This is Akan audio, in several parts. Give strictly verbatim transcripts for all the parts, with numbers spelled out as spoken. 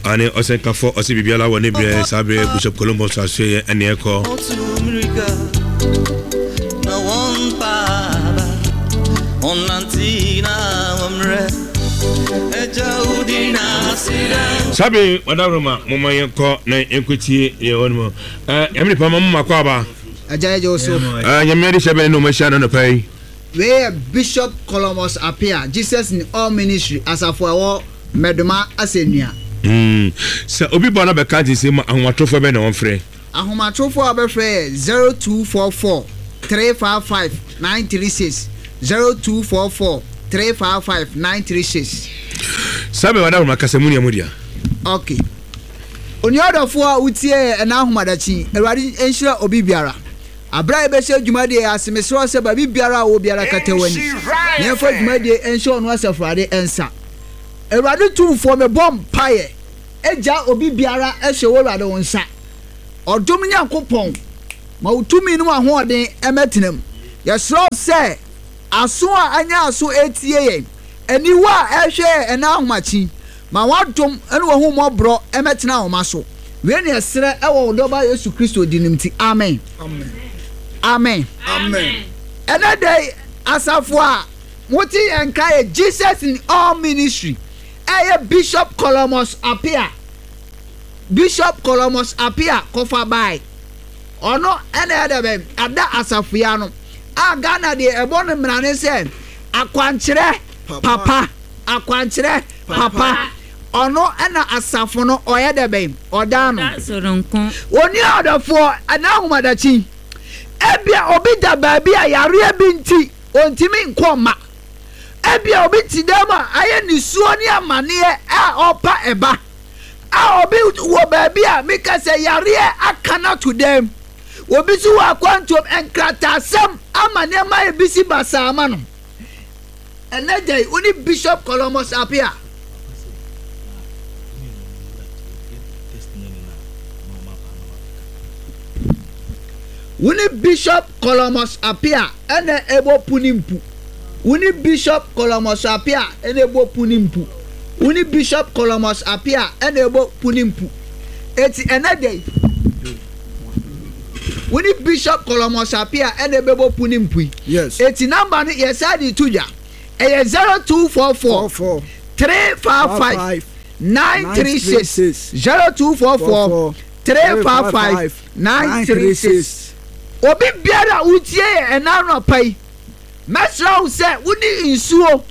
Ane ɔsɛnkafo ɔsɛ biribiara wɔ ne berɛ. Saa berɛ Bishop Columbus asoɛyɛ ɛne ɛkɔ. Otu mmirika na wɔmpa aba, ɔnante na wɔmmerɛ, agya wo din na aseda. Saa bere ɔdawuroma, momma yɛnkɔ na yɛnkɔtie deɛ ɛwɔ no mu. Ɛmene nipa ma moma kɔ aba. Agya, yɛgye wo so. Nyame ade hyɛ bɛne ne ɔmahyia no nɔpa yi. Wei yɛ Bishop Columbus Apia, Jesus in All Ministry asafo a ɛwɔ Mɛdoma Asɛnnua. Mm. Sɛ obi ba no bɛka nte sɛ mu, ahomatorofoɔ bɛ na wɔmfrɛ? Ahomatorofoɔ a wɔbɛfrɛ yɛ zero two four four three five five nine three six, zero two four four three five five nine three six. Saa bɛ wadawuroma kasa mu nea mu dea. Ok, onua ɔdɔfoɔ a wotie yɛ ɛna ahomadakyi, Awurade nhyira obi biara. Abere a yɛbɛhyɛ dwumadie ase, mesrɛ sɛ baabi biara a wɔ biara, kata w'ani na yɛmfa dwumadie nhyɛ ɔno asafurade nsa. Awurade tumfoɔ, mebɔ mpaeɛ agya obi biara hyɛ wɔ Awurade wo nsa. Ɔdom Nyankopɔn, ma wo tumi no ahoɔden ɛmɛtena mu. Yɛsrɛ wo sɛ aso a anya aso etie yɛn, aniwa a ɛhwɛ yɛn ɛna ahomakyi, ma wadom ne wahu mmɔborɔ ɛmɛtena ahoma so. Wei ne ɛserɛ ɛwɔ wo dɔba Yesu Kristo di nim ti, amen, amen. Amen. Ɛnɛ da yi, asafo a mote yɛn ka yɛ Jesus in All Ministry, ɛyɛ Bishop Columbus Apia. Bishop Columbus Apia kɔfa bae, ɔno ɛna ɛdɛ bɛn ada asafo yi ano a Ghana deɛ ɛbɔ no mmara ne sɛ akwankyerɛ papa, akwankyerɛ papa. Ɔno ɛna asafo no ɔyɛ dɛ bɛn ɔda no. Soronko. Oni ɔdɔfoɔ, ɛna ahomadakyi, ebia obi da baabi a yareɛ bi nti ontimi nkɔ mma. Ebia obi te dɛm a ayɛ nisuo ne amanneɛ a ɔpa ɛba a, obi wɔ baabi a meka sɛ yareɛ aka no ato dɛm. Obi nso wɔ akwantuom, nkrataasɛm ama nneɛma ayɛ bi si basaa ama no. Ɛnɛ da yi, wo ne Bishop Columbus Apia. Wo ne Bishop Columbus Apia ɛna ɛbɔ pu ne mpu. Wo ne Bishop Columbus Apia ɛna ɛbɔ pu ne mpu. Wo ne Bishop Columbus Apia ɛna ɛbɔ pu ne mpu. Eti ɛnɛ da yi, wo ne Bishop Columbus Apia ɛna ɛbɛbɔ pu ne mpu yi. Yes. Eti number no yɛsa de to dwa, ɛyɛ zero two four four four four three five five nine three six, zero two four four three five five nine three six. Obi biara a wotie yɛ ɛna anɔpa yi, mɛsrɛ wo sɛ wone nsuo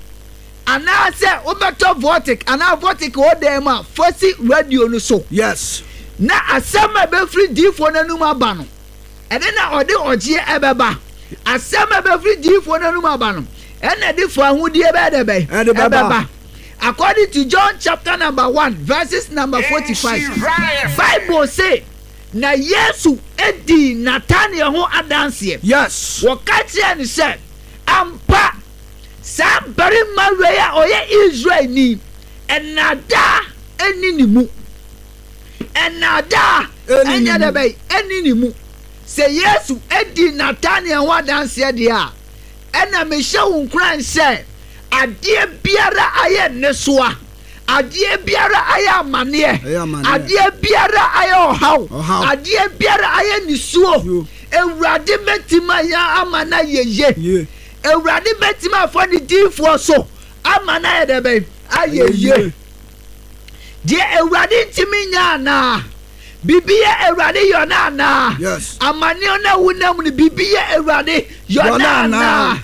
anaasɛ wobɛtɔ Voltic anaa Voltic wɔ dan mu a, fa si radio no so. Yes. Na asɛm a ɛbɛfiri diifoɔ no anum aba no, ɛne na ɔde ɔgyeɛ ɛbɛba. Asɛm a ɛbɛfiri diifoɔ no anum aba no, ɛna ɛde fa ahodie bɛyɛ dɛ bɛyɛ Ɛde bɛba. According to John chapter number one verses number forty-five, Bible say na Yesu edi Nathaniel ho adanseɛ. Yes. Wɔka kyerɛ no sɛ ampa, saa barima wei a ɔyɛ Israelni, ɛnaadaa ɛni ne mu, ɛnaadaa Ɛnni ne ɛnyɛ dɛ mu. bɛyi ɛni ne mu. Sɛ Yesu edi Nathaniel ho adanseɛ deɛ a, ɛna mehyɛ wo nkuran sɛ adeɛ biara ayɛ nnesoa, adeɛ biara ayɛ amanneɛ, Ɛyɛ amanneɛ. adeɛ biara ayɛ ɔhaw, Ɔhaw. adeɛ biara ayɛ nisuo, Yo. Awurade bɛtumi ayɛ ama no ayɛ ye. Ye. Awurade bɛtumi afa ne diifoɔ so ama no ayɛ dɛ bɛn ayɛ ye. Deɛ Awurade ntumi nya anaa biribi yɛ Awurade yɔ no anaa? Yes. Amanneɛ no a wonam no, biribi yɛ Awurade yɔ no Yɔ no anaa? anaa?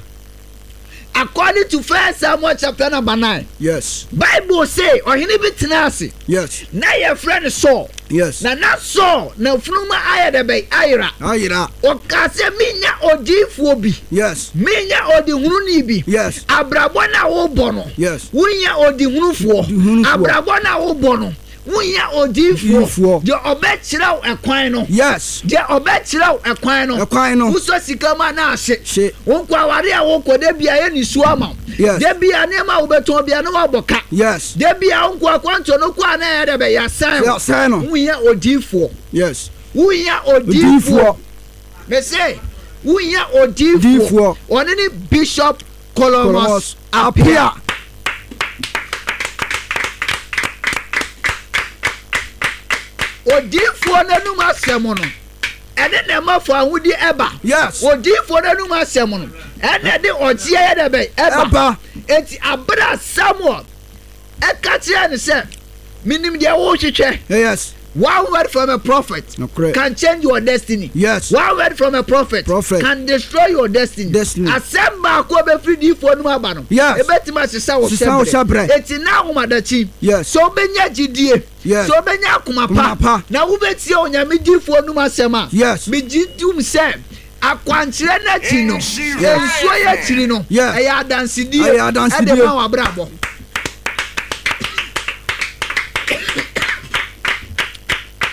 According to First Samuel chapter number nine, Yes. Bible say ɔhene bi tena ase Yes. na yɛfrɛ no Saul. Yes. Na na Saul na funuma ayɛ dɛ bɛn ayera. Ayera. Ɔka sɛ menya odiifoɔ bi, Yes. menya ɔdehununi bi. Yes. Abrabɔ no a wobɔ no, Yes. wonya ɔdehunufoɔ. Ɔdehunufoɔ. Abrabɔ no a wobɔ no, wonya odiifoɔ. Odiifoɔ. Deɛ ɔbɛkyerɛ wo ɛkwan no, Yes. deɛ ɔbɛkyerɛ wo ɛkwan no. Ɛkwan no. Wosɔ sika mu a na ahye. Hye. Wo nkɔ aware a wokɔ da bia yɛ nisuo ama wo. Yes. Da bia nneɛma a wobɛtɔn bia na woabɔ ka. Yes. Da bia wo nkɔ akwantuo no kɔ a na ɛyɛ dɛ bɛ yɛasan wo. Yɛasan no. Wohia odiifoɔ. Yes. Wohia odiifoɔ. Odiifoɔ. Mese wohia odiifoɔ. Odiifoɔ. Ɔne ne Bishop Columbus Columbus Apia. Apia. Odiifoɔ n'anum asɛm no ɛne na ɛma fa ahodi ɛba. Yes. Odiifoɔ n'anum asɛm no ɛna ɛde ɔgyeɛ yɛ dɛ bɛn ɛba. Ɛba. Eti abere Samuel ɛka kyerɛ ne sɛ minim deɛ wɔrehwehwɛ. Yes. One word from a prophet Nokorɛ. can change your destiny. Yes. One word from a prophet, Prophet. can destroy your destiny. Destiny. Asɛm baako a bɛfiri diifoɔ no mu aba no. Yes. Ebɛtumi asesa wo Sesa wo hyɛbrɛ. Eti na ahomadakyi. Yes. Sɛ wobɛnya gyidie. Yes. Sɛ wobɛnya akoma pa. Akoma pa. Na wobɛtie Onyame diifoɔ no mu asɛm a. Yes. Megye dum sɛ akwankyerɛ n'akyi no. Nsuo yɛ akyiri no. Yes. Ɛyɛ adansedie. Ɛyɛ adansedie. Ɛde ma w'abrabɔ.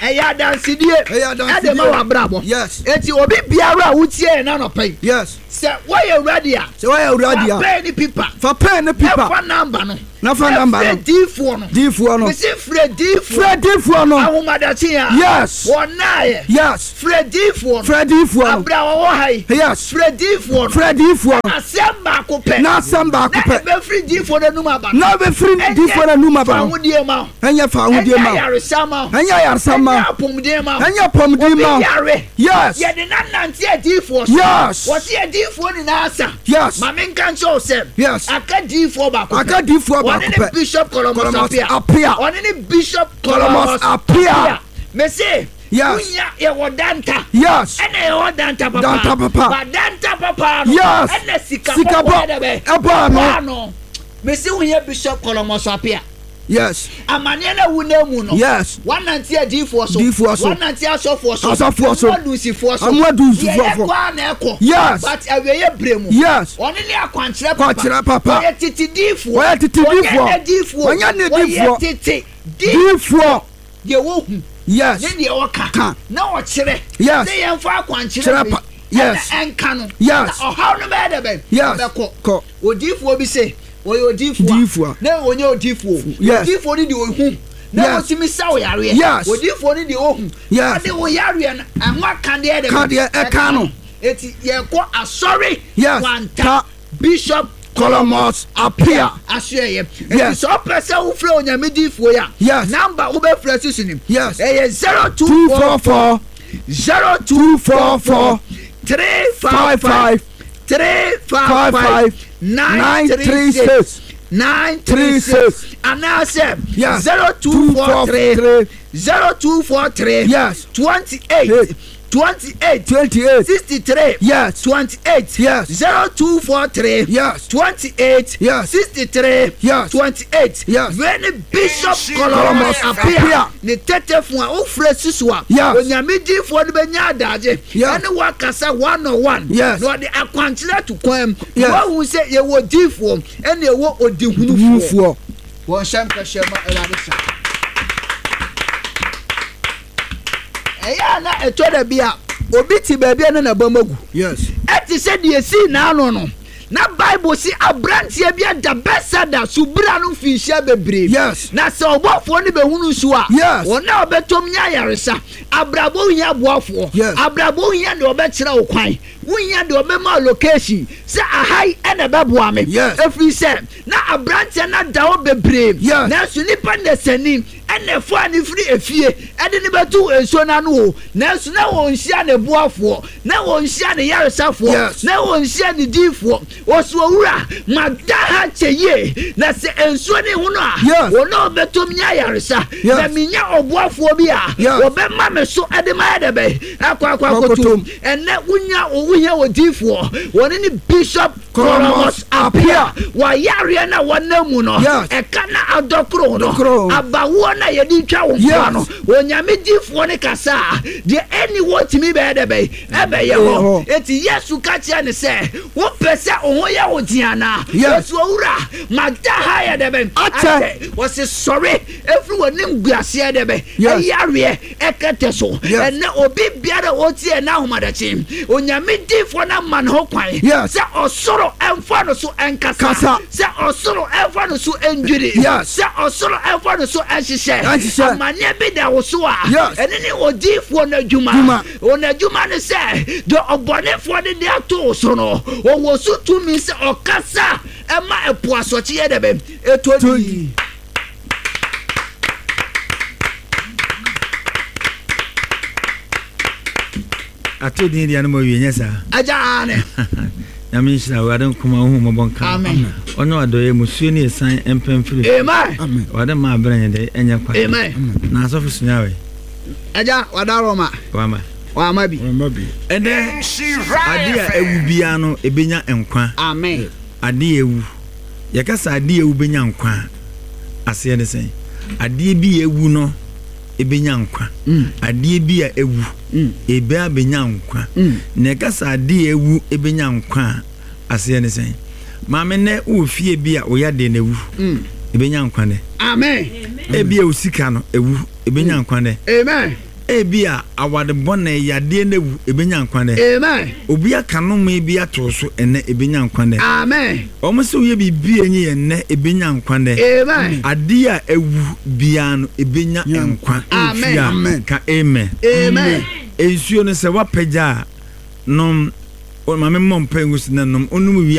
Ɛyɛ adansedie. Ɛyɛ adansedie. Ɛde ma w'abrabɔ. Yes. Eti obi biara a wotie yɛn n'anɔpa yi. Yes. Sɛ wɔyɛ ready a. Sɛ wɔyɛ ready a. Fa pɛn ne pipa. Fa pɛn ne pipa. Ɛfa namba no. Na fa namba no. Ɛfrɛ diifoɔ no. Diifoɔ no. Mesi frɛ diifoɔ. Frɛ diifoɔ no. Ahomadakye a. Yes. Wɔn naayɛ. Yes. Frɛ diifoɔ no. Frɛ diifoɔ no. Abira wɔwɔ ha yi. Yes. Frɛ diifoɔ no. Frɛ diifoɔ no. Asɛm baako pɛ. Na asɛm baako pɛ. Na ebɛfiri diifoɔ no anum aba no. Na ebɛfiri diifoɔ no anum aba no. Ɛnyɛ fa ahodie ma wo. Ɛnyɛ fa ahodie ma wo. Ɛnyɛ ayaresa ma wo. Ɛnyɛ ayaresa ma wo. Ɛnyɛ apɔmuden ma wo. Ɛnyɛ apɔmuden ma wo. Obi yare. Yes. Yɛde nanante adiifoɔ so. Yes. Wɔsi adiifoɔ nyinaa sa. Yes. Maame nka nkyɛn o sɛ. Yes. Aka diifoɔ baako pɛ. Aka diifoɔ baako Ɔne pɛ. ne Bishop Columbus Appiah. Appiah. Ɔne ne Bishop Columbus Columbus Appiah. Mese. Yes. Wunya yɛwɔ danta. Yes. Ɛna yɛwɔ danta papa. Danta papa. Ba danta papa no. Yes. Ɛna sika Sika kɔkɔɔ bɔ- yɛ dɛ bɛ. ɛbɔ ano. Ɛbɔ ano. Mese wunya Bishop Columbus Appiah. Yes. Amaneɛ na wu na mu no. Yes. Wanante adiifoɔ so. Diifoɔ so. Wanante asɔfoɔ so. Asɔfoɔ so. Amu adunsifoɔ so. Amu adunsifoɔ Deɛ so. ɛkɔ a na ɛkɔ. Yes. But awieɛ bere mu. Yes. Ɔne ne akwankyerɛ papa. Akwankyerɛ papa. Ɔyɛ tete diifoɔ. Ɔyɛ tete diifoɔ. Ɔnyɛ diifoɔ. Ɔnyɛ ne diifoɔ. Ɔyɛ tete Diifoɔ. Deɛ wohu. Yes. Ne deɛ ɔka. Ka. Na ɔkyerɛ. Yes. Ne yɛmfa akwankyerɛ Kyerɛ wei. pa- Yes. Ɛna ɛnka no. Yes. Na ɔhaw no bɛyɛ dɛ bɛn. Yes. Ɔbɛkɔ. Kɔ. Odiifoɔ bi se ɔyɛ odiifoɔ a Diifoɔ. na ɔnyɛ odiifoɔ. Yes. Odiifoɔ no deɛ ohu. Na Yes. wɔtumi sa wo yareɛ. Yes. Odiifoɔ no deɛ ohu. Yes. Ɔde wo yareɛ no ɛho akadeɛ dɛ bɛn. Kadeɛ ɛka no. Eti yɛkɔ asɔre. Yes. Kwanta. Ta. Bishop Columbus Appiah. Asoɛyɛ. Eti Yes. sɛ ɔpɛ sɛ wofrɛ Onyame diifoɔ yi a. Yes. Namba wobɛfrɛ susu nim. Yes. Ɛyɛ zero two Two four four four zero two two four four three five five five five three five five five five nine nine three three six six nine three three six six. anaasɛ Yes. zero two Two four four three three zero two four three Yes. twenty eight Eight. twenty eight twenty eight. sixty three Yes. twenty eight Yes. zero two four three Yes. twenty eight Yes. sixty three Yes. twenty eight Yes. wei ne Bishop Columbus Columbus Appiah Appiah. ne tete fun a wofrɛ susu a Yes. Onyame diifoɔ no bɛnya adagye Yes. ɛne wakasa one on one Yes. na ɔde akwankyerɛ to kwan mu Yes. wahu sɛ yɛwɔ diifoɔ ɛne ɛwɔ odihunufoɔ Diifoɔ. Wɔn hyɛ nkɛhyɛ ma Awurade sa ɛyɛ a na ɛtɔ da bi a obi te baabi a na n'abam agu. Yes. Ɛte sɛ deɛ esi n'ano no na Bible si aberanteɛ bi ada Bɛsada subira no mfinhyia bebree. Yes. Na sɛ ɔbɔfoɔ no bɛhunu nsuo a. Yes. Wɔn a ɔbɛtɔm nya ayaresa. Abrabɔ hia boafoɔ. Yes. Abrabɔ hia deɛ ɔbɛkyerɛ wo kwan. Wohia deɛ ɔbɛma location sɛ ahai ɛna ɛbɛboa me. Yes. Ɛfiri sɛ na aberanteɛ no ada hɔ bebree. Yes. Nanso nipa nnɛsani ɛna ɛfo a ne firi efie ɛde ne bɛto nsuo n'ano o. Nanso na wɔnhyia ne boafoɔ, na wɔnhyia ne yaresafoɔ, Yes. na wɔnhyia ne diifoɔ. Wɔsi owura mada ha kyɛ yie na sɛ nsuo ne ho no a Yes. wɔn a wɔbɛtɔm nya yaresa. Yes. Na minya ɔboafoɔ bi a Yes. wɔbɛma me so ɛde ma yɛ dɛ bɛ akɔ akɔ akɔtum. Akɔtum. Ɛnɛ wonya wohia odiifoɔ wɔne ne Bishop Columbus Columbus Appiah wɔyareɛ na wɔnam mu no Yes. ɛka na adɔkoro no Dɔkoro. abawoɔ na yɛde twa wo nkoa Yes. no Onyame diifoɔ ne kasa a deɛ ɛni wɔtumi bɛyɛ dɛ bɛyɛ ɛbɛyɛ hɔ Ɛyɛ hɔ. eti Yesu ka kyerɛ ne sɛ wopɛ sɛ wo ho yɛ wo den anaa? Yes. Wɔsi owura mada ha yɛ dɛ bɛn Akyɛ. Wɔsi sɔre efiri wɔ ne nguaseɛ dɛ bɛn Yes. ɛyareɛ ɛkɛtɛ so. Yes. Ɛnɛ obi biara a ɔtie ɛna ahomadakye Onyame diifoɔ no ama ne ho kwan Yes. sɛ ɔsoro ɛmfa no so ɛnkasa Kasa. sɛ ɔsoro ɛmfa no so ɛndwiri Yes. sɛ ɔsoro ɛmfa no so ɛnhyehyɛ Ɛnhyehyɛ. amanneɛ bi da wo so a Yes. ɛne ne odiifoɔ no adwuma Dwuma. wɔn adwuma ne sɛ deɛ ɔbɔnefoɔ no de ato wo so no ɔwɔ so tumi sɛ ɔkasa ɛma ɛpo asɔkye yɛ dɛ bɛn ɛtɔ Tɔ di di. Ato din deɛ no ma wie nyɛ saa. Agya ane. Nyame nhyira wo, Awurade nkoma wo hu mmɔbɔ nka. Amen. Ɔnyɛ wadɔyɛ musuo ne ɛsan mpɛn firi. Amen. Awurade ma abrɛ nyɛ dɛ ɛnyɛ kwa. Amen. Na asɔfo sunya wɛ. Agya wada Roma. Wama. Wama bi. Wama bi. Ɛnɛ ade a ewu biara no ebenya nkwa. Amen. Ade a ewu. Yɛka sɛ ade a ewu benya nkwa. Aseɛ ne sɛn? Adeɛ bi a ewu no ebenya nkwa. Adeɛ bi a ewu ebe abenya nkwa. Na yɛka sɛ adeɛ a ewu ebenya nkwa a aseɛ ne sɛn? Maame nɛ wɔ fie bi a oyɛ adeɛ na ewu. Ebenya nkwa nɛ. Amen. Ebi a osika no ewu ebenya nkwa nɛ. Amen. Ebi a awade bɔne yadeɛ na ewu ebenya nkwa nɛ. Amen. Obi aka nnome bi ato so ɛnɛ ebenya nkwa nɛ. Amen. Wɔn sɛ woyɛ biribi a enye yɛ nnɛ ebenya nkwa nɛ. Amen. Adeɛ a ewu biara no ebenya nkwa. Amen. Amen. Ka amen. Amen. Nsuo no sɛ wapagya a nom maame mmɔ mpa ngu so na nom onum wie.